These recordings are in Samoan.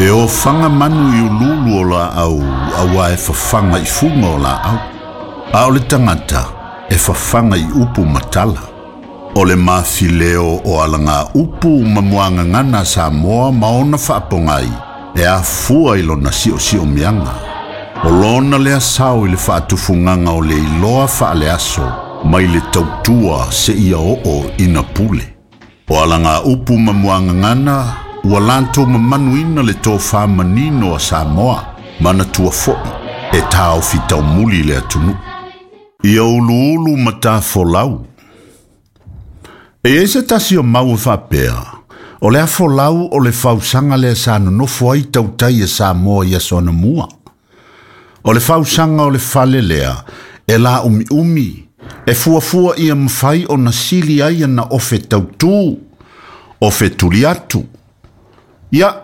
E ofaga manu i uluulu o laau auā e fafaga i fuga o laau, a o le tagata e fafaga i upu ma tala. O le mafileo o alagaupu ma muagagana a Samoa ma ona faapogai e afua i lona siosiomiaga. O lona lea sao i le faatufugaga o le iloa faaleaso mai le tautua seia oo ina pule. O alagaupu ma muagagana ua latou mamanuina le tofa manino a Samoa, manatua foi e taofi taumuli le atunuu. Ia uluulu ma tafolau. E i ai se tasi o mau e faapea, o le afolau o le fausaga lea sa nonofo ai tautai e Samoa i aso anamua. O le fausaga o le fale lea e laumiumi, e fuafua ia mafai ona sili ai ana ofe tautū, ofe tuli atu. Ia,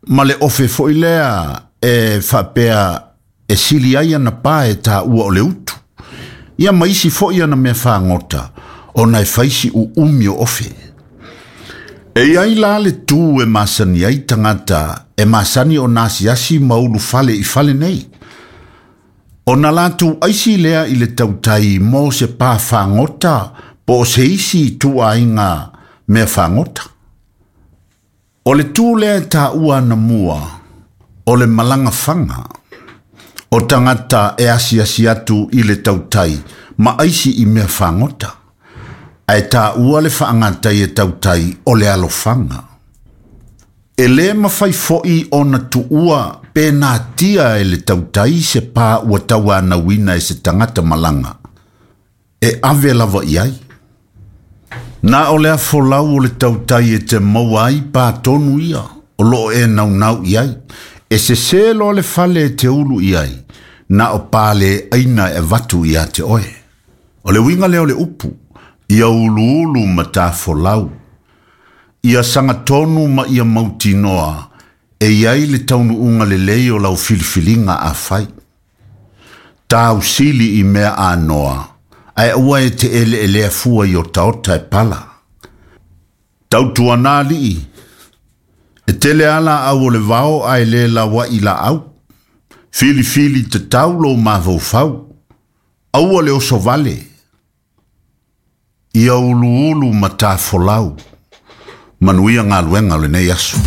ma le ofe foi lea e faapea e sili ai ana pa e taua o le utu. Ia ma isi foi ana mea fagota, ona e fai si uumi o ofe. E i ai la le tū e masani ai tagata e masani ona asiasi ma ulufale i fale nei. Ona latou aisi lea i le tautai mo se pa fagota po o se isi ituaiga mea fagota. O le tū lea e taua anamua, o le malaga faga. O tagata e asiasi atu i le tautai ma aisi i mea fagota. Ae taua le faagatai e tautai o le alofaga. E lē mafai foi ona tuua pe natia e le tautai se pa ua tauanauina e se tagata malaga. E ave lava i ai. Na o le afolau o le tautai e te maua ai pa tonu ia o loo e naunau i ai. E sesē loa le fale e te ulu i ai, na o pa le aina e avatu ia te oe. O le uiga lea o le upu, ia uluulu ma tafolau. Ia sagatonu ma ia mautinoa e i ai le taunuuga lelei o lau filifiliga a fai. Tausili i mea anoa, ae aua e te eleelea fua i otaota e pala. Tautuana alii, e tele lava laau o le vao ae le lauaʻi laau. Filifili tatau lou mafaufau, aua le oso vale. Ia uluulu ma tafolau. Manuia galuega o lenei aso.